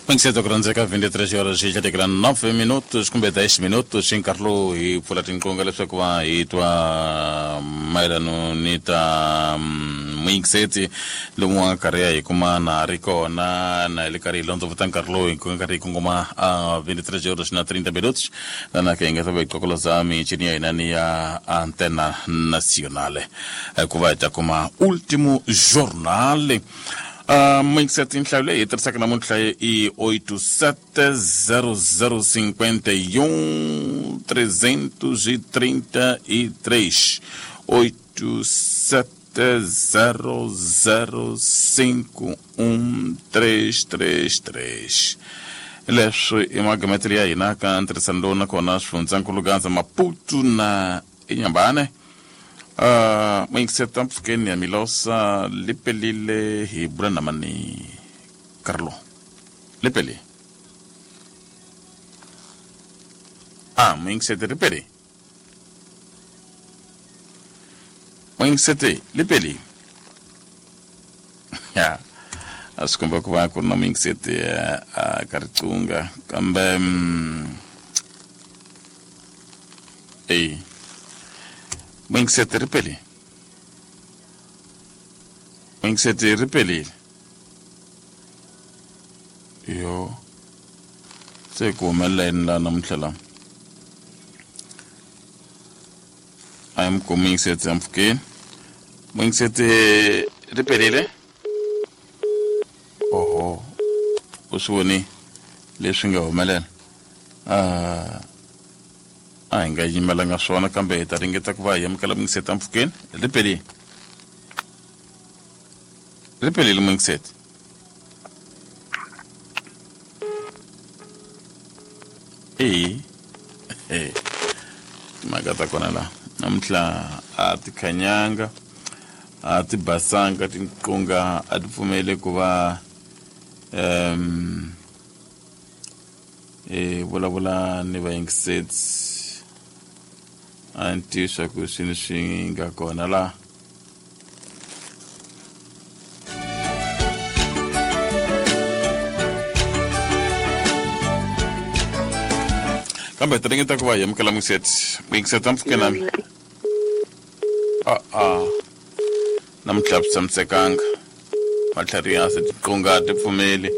Mingiseta ku rhandzeka 23 horas xi tlhatekela 9 minutos kumbe 10 minutos hi nkarhi lowu hi pfula tinqonga leswaku va hi twa mayelano ni ta muyingiseti lomu wa nkarhi ya hi kuma na ri kona na hi le karhi hi londzovota nkarhi lowu hi karhi hi kongoma a 23 horas na 30 minutos lana ke hi nga ta va hi qokoloza michini ya hina ni ya antena nacionale ku va hi ta kuma ultimo jornal. Muyingiseti, nhlayo leyi hi tirhisaka namuntlha i 870051 333, 870051 333. Leswi i magametelo ya hina ka ntirhisano lowu nakona swifundzankulu Gaza, Maputo na Inyambane. Muyingiseta mpfhukeni ya Milosa lipelile hi bula na mani Carlo lipeli a muyingiseti ripeli muyingiseti lipeli ya a swi komba ku va ku ri na muyingiseti a ka riqunga kambe eyi muyingiseti ripeli muyingiseti ripelile yo se ku humelela yini laha namuntlha la a hi mi muyingiseti ampfhukeni muyingiseti ripelile oho u swi voni leswi nga humelela a hi nga yimelanga swona kambe hi ta ringeta ku va hi amukela muyingiseti ampfhukeni ripelile ripelile muyingiseti eyi timhaka ta kona laha namuntlha a ti khanyanga a ti basanga tinqunga a ti pfumeli ku va hi vulavula ni vayingiseti a ni tivi swa ku swini swi nga kona laha. Kambe ti ringeta ku va hi amukela muyingiseti muyingiseti ampfhuke nami a namuntlha swi tshamisekanga matlhari ya se tiqunga ti pfumeli.